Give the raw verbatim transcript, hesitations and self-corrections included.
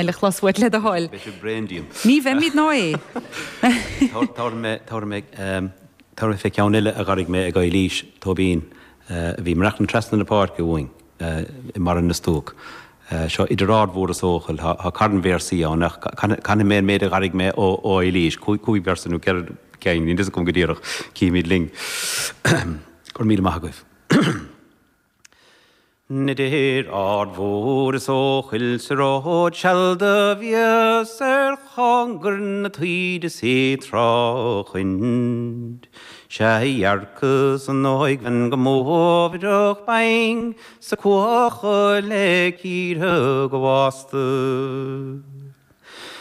Le chlos uait le do thoil. Beidh sibh bréan díom. Ní bheimid ná é. Tabharfaidh mé tabharfaidh mé fé ceann eile a dh'airigh mé ag Eilís Tóibín a bhí ag maireachtaint trasna na páirce uainn i mBarra na Stuac. Seo idir Ard Mhór is Eochaill, tá carn véarsaí ann ach canfaidh mé an méid a dh'airigh mé ó Eilís, cúig véarsa nó ceithre cinn, níl fhios agam go díreach, cífimid linn. Go raibh míle maith agaibh. Idir Ard Mhór is Eochaill sa ród seal do bhíos ar chóngar na taoide is í tráchaint. Sea dhearcas an óigbhean go mómhaireach binn 's a cuachadh le cíortha go bhásta.